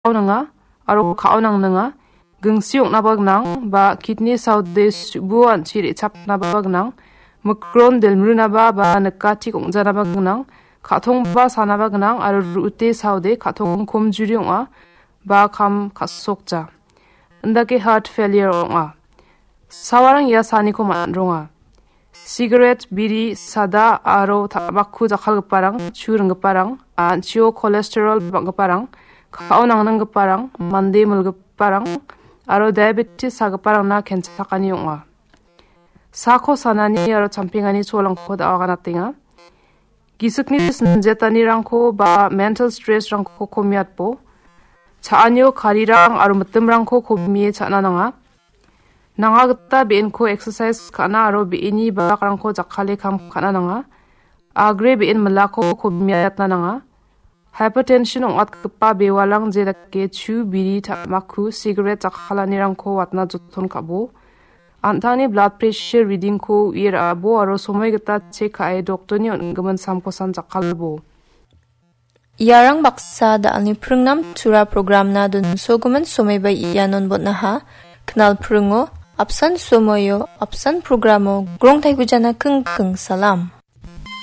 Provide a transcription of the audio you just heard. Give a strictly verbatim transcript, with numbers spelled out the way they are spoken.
ka·o nanga aro ka·o nangninga. Gingsi ong·naba gnang ba kidney saode subu an·chi re·chapnaba gnang. Mikron delmrunaba ba nikatik ong·janaba gnang. Ka·tongba sanaba gnang aro ru·ute saode ka·tong komjuri ong·a ba kam ka·sokja. Indake heart failure ong·a. Sawarang ia saniko man·ronga. Sigaret, biri, sada aro ta·bakku jakkalgiparang, chu ringgiparang, an·chio cholesterol bang·giparang, ka·o nangnanggiparang, mande milgiparang aro diabetes sagiparangna kenchakani ong·a. Sako sanani aro champengani cholangko da·o aganatenga. Gisikni sinjetanirangko ba mental stressrangko komiatbo. Cha·anio karirang aro mitimrangko komie cha·na nanga. Nanga gita be·enko exercise ka·na aro be·eni bakrangko jakkale kam ka·na nanga. Agre be·en milako komiatna nanga. Hypertension ong·atgipa bewalang je dake chu, biri, ta·makku, sigaret jakkalanirangko watna joton ka·bo. An·tangni blood pressure readingko u·e ra·abo aro somoi gita chek ka·e doktorni on·gimin samkosan jakkalbo. Iarang baksa da·alni pringnam tura programna donsogimin somoi bai ianon botnaha. Knal pringo apsan somoio apsan programo grong taigujana kingking salam.